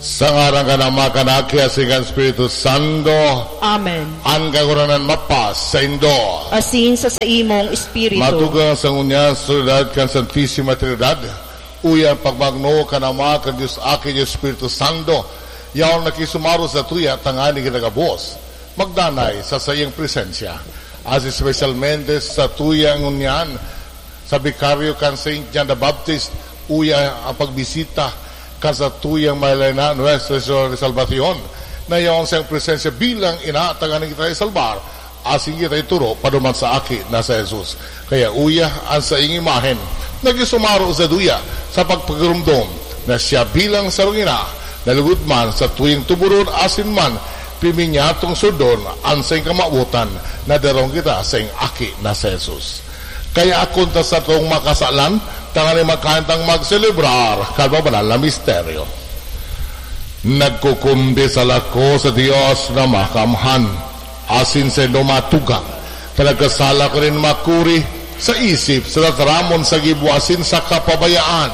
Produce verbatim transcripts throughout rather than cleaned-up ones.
Sa ngaran kan Ama, kan Aki, asin kan Espiritu Santo. Amen. An Kagurangnan mapasaindo. Asin sa saimong espiritu. Matugang sa ngunyan sa soledad kan Santisima Trinidad, uya an pagmagno kan Ama, kan Dios Aki, Dios Espiritu Santo, yaon nakisumaro sa tuya tanganing kita gabos magdanay sa saiyang presensya. As espesyalmente sa tuya ngunyan, sa bikaryo kan Saint John the Baptist, uya ang pagbisita kan satuyang Malaylayan, Nuestra Señora de Salvacion, na yaon sa iyang presensya bilang ina, tanganing kita isalbar, asin kita ituro paduman sa Aki na si Jesus. Kaya uya an saiyang imahen, nakisumaro sa duya sa pagpagiromdom na siya bilang sarong ina, na lugod man sa tuyang tuboron asin man piminyatong sudon an saiyang kamawotan, na darahon kita saiyang Aki na si Jesus. Kaya akon ta satong makasalan, tanganing magkaen tang magselebrar kan mabanal na misteryo. Nagkukumpisal ako sa Dios na Makaamhan, asin saindo matugang, ta nagkasala ako nin makuri sa isip, sa tataramon, sa gibo, asin sa kapabayaan.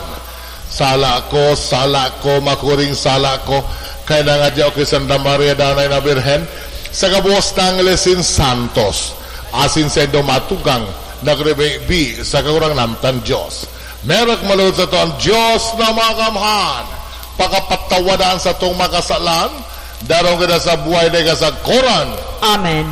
Sala ko, sala ko, makuring sala ko, kaya nangadya ako ki Santa Maria, Danay na Birhen, sa gabos na anghel asin santos, asin saindo matugang, nagribi-bi sa Kagurangnan tang Dios. Merak malod sato an Dios na Makaamhan, pakapatawadan satong makasalan, darahon kita sa buhay na kasagkoran. Amen.